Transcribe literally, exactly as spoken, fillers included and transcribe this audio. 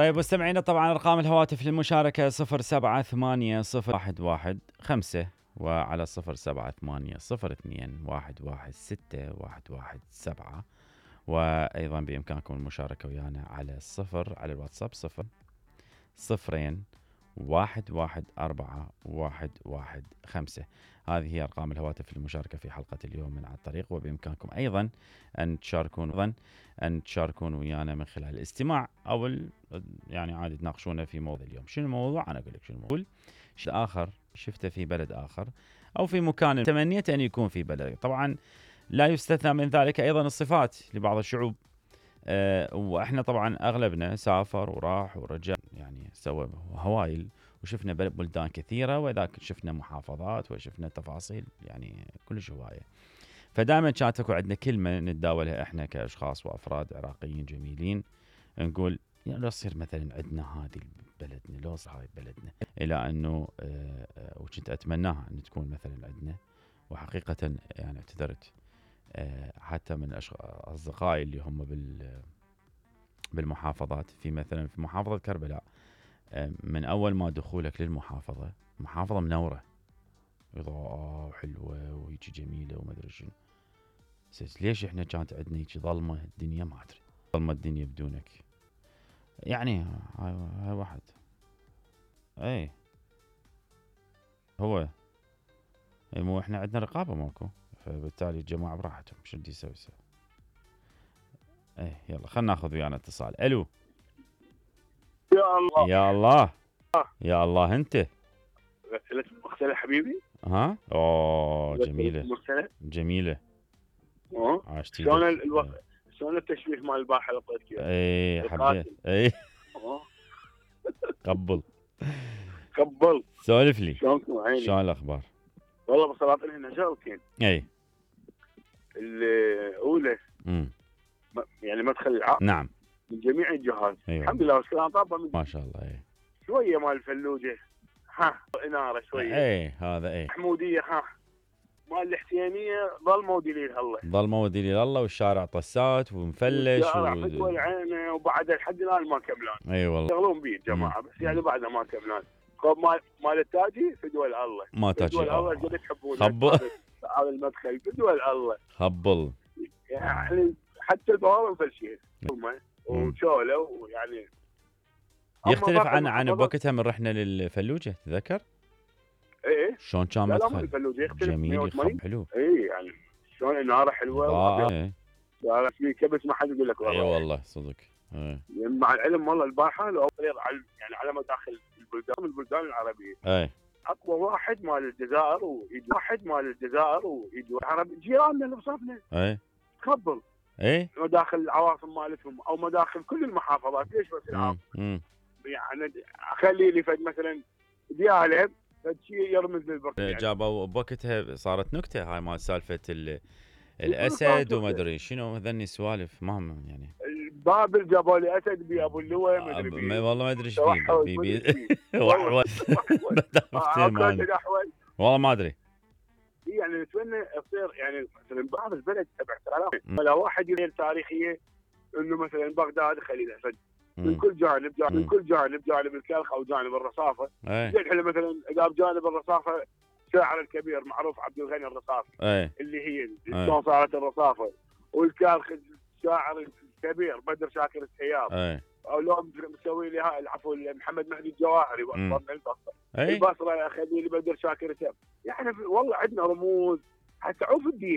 طيب مستمعينا، طبعا ارقام الهواتف للمشاركه صفر سبعة ثمانية صفر واحد واحد خمسة وعلى صفر سبعة ثمانية صفر اثنين واحد واحد ستة واحد واحد سبعة، وايضا بامكانكم المشاركه ويانا على الصفر على الواتساب صفر صفرين واحد واحد أربعة واحد واحد خمسة. هذه هي أرقام الهواتف للمشاركة في حلقة اليوم من على الطريق، وبإمكانكم أيضا أن تشاركون أيضا أن تشاركون ويانا من خلال الاستماع أو يعني عادي تناقشونا في موضوع اليوم. شنو الموضوع؟ أنا أقول لك شنو الموضوع. شيء آخر شفته في بلد آخر أو في مكان تمنيت أن يكون في بلد. طبعا لا يستثنى من ذلك أيضا الصفات لبعض الشعوب، أه وإحنا طبعا أغلبنا سافر وراح ورجع، يعني سوى هوايل وشفنا بلدان كثيرة، وذاك شفنا محافظات وشفنا تفاصيل يعني كلش هواية. فدائما كانت اكو عندنا كلمة نتداولها احنا كأشخاص وأفراد عراقيين جميلين، نقول يعني لو تصير مثلا عندنا هذه بلدنا، لو صار هاي بلدنا، إلى أنه أه وكنت أتمناها أن تكون مثلا عندنا. وحقيقة يعني اعتذرت أه حتى من أصدقائي اللي هم بال بالمحافظات، في مثلا في محافظة كربلاء، من أول ما دخولك للمحافظة، محافظة منورة إضاءة وحلوة وهيجي جميلة وما أدري شنو، ليش إحنا كانت عندنا هيجي ظلمة الدنيا؟ ما أدري، ظلمة الدنيا بدونك يعني. هاي, هاي واحد أي هو أي مو إحنا عندنا رقابة ماكو، فبالتالي الجماعة براحتهم شو بدي يسوي يسوي. أي يلا خلنا ناخذ ويانا اتصال. ألو. يا الله يا الله يا الله أنت غسلت مغسلة حبيبي. ها اوه جميلة مغسلة جميلة. اه عاشتي شلون الوقت، شلون التشويه مال البارحة اللي طيتك اياه؟ اي حبيت اي اه قبل قبل سولف لي شلونكم عيني؟ شلون الاخبار؟ والله بصراحة هنا شغلتين. اي الاولى امم يعني مدخل العقل نعم من جميع الجهات. أيوة. الحمد لله والسلام طابة من ما شاء الله. اي شوية مال الفلوجة ها انارة شوية. اي هذا اي محمودية ها مال الحسينية ظل مودي لي الله، ظل مودي لي الله، والشارع طسات ومفلش والشارع و... فدوى العينة، وبعد لحد الان ما كملان. اي والله يشتغلون بيه الجماعة بس يعني بعد ما كملان. مال مال التاجي فدوى الله، ما تاجي فدوى الله قد تحبونه. خبل هذا المدخل فدوى الله خبل يعني حتى البوابة مفلشين وشولة ويعني يختلف عن عن بوقتها من رحنا للفلوجة تذكر؟ ايه شلون كان لا مدخل؟ لا الفلوجة يختلف جميل خب حلو. اي يعني شلون النار حلوة ايه لا في كبس ما حد يقول لك والله. اي والله صدق. ايه مع العلم والله البارحة لو يعني على مداخل البلدان البلدان العربية ايه اقوى واحد مال الجزائر ويجي واحد مال الجزائر ويجي العرب جيراننا اللي بصفنا. ايه تخبل ايه مداخل العواصم مالتهم او مداخل كل المحافظات. ليش بس العاصمة؟ يعني اخلي لي فد مثلا ديالب فد شيء يرمز للبرتغال. جابوا بوقتها صارت نكته هاي مال سالفه الاسد وما ادري شنو هذني سوالف ما هم يعني. بابل جابوا لي اسد بي ابو اللواء ما ادري بيه والله ما ادري ايش فيه بي بي وحول والله ما ادري. يعني نتمنى تصير يعني مثلا بعض البلد باعتراف ولا واحد يدير تاريخيه انه مثلا بغداد خلي الاسد من كل جانب جانب من كل جانب جانب الكلخ او جانب الرصافه. زين احنا مثلا اذا بجانب الرصافه الشاعر الكبير معروف عبد الغني الرصافي أي. اللي هي شلون صارت الرصافه، والكلخ الشاعر الكبير بدر شاكر السياب، او لو مسوي لي هاي العفو محمد مهدي الجواهري من البصره. البصره اخذي لي بدر شاكر السياب. يعني والله عندنا رموز حتى عوف الدين.